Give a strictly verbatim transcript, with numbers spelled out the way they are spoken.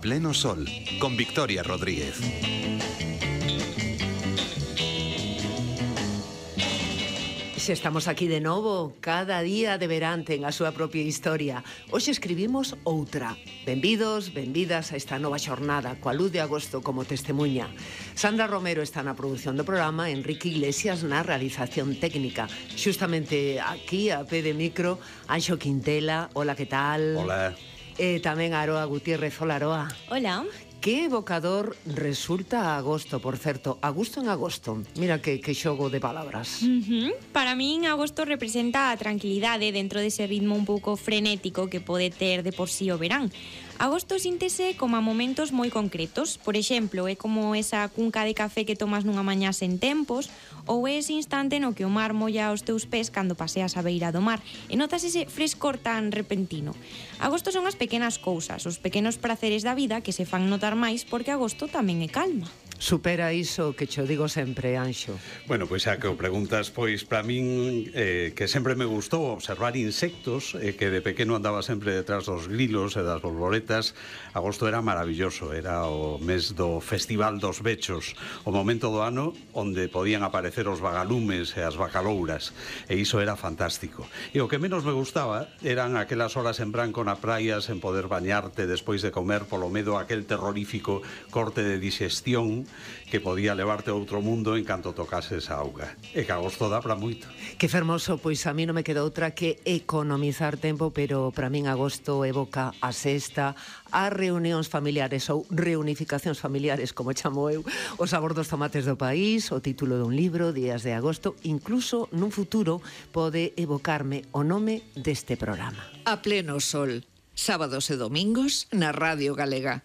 Pleno Sol, con Victoria Rodríguez. Se estamos aquí de novo, cada día de verán ten a súa propia historia. Hoxe escribimos outra. Benvidos, benvidas a esta nova xornada, coa luz de agosto como testemunha. Sandra Romero está na produción do programa, Enrique Iglesias na realización técnica. Xustamente aquí, a pé de micro, Anxo Quintela. Hola, que tal? Hola. E tamén Aroa Gutiérrez. Hola, Aroa. Hola. Que evocador resulta agosto, por certo. Agosto en agosto. Mira que, que xogo de palabras. Uh-huh. Para min, agosto representa a tranquilidade dentro dese ritmo un pouco frenético que pode ter de por sí o verán. Agosto síntese como a momentos moi concretos. Por exemplo, é como esa cunca de café que tomas nunha mañá sen tempos, ou é ese instante no que o mar molla os teus pés cando paseas a beira do mar e notas ese frescor tan repentino. Agosto son as pequenas cousas, os pequenos praceres da vida que se fan notar máis porque agosto tamén é calma. Supera iso que cho digo sempre, Anxo. Bueno, pois xa que o preguntas, pois para min eh, que sempre me gustou observar insectos, eh, que de pequeno andaba sempre detrás dos grilos e das borboletas. Agosto era maravilloso, era o mes do Festival dos Bechos, o momento do ano onde podían aparecer os vagalumes e as bacalouras, e iso era fantástico. E o que menos me gustaba eran aquelas horas en branco na praia sen poder bañarte despois de comer polo medo aquel terrorífico corte de digestión que podía levarte a outro mundo en canto tocases a auga. E que agosto dá para moito. Que fermoso, pois a mí non me queda outra que economizar tempo, pero para min agosto evoca a sexta, as reunións familiares ou reunificacións familiares, como chamo eu, o sabor dos tomates do país, o título dun libro, Días de agosto, incluso nun futuro pode evocarme o nome deste programa. A Pleno Sol, sábados e domingos na Radio Galega.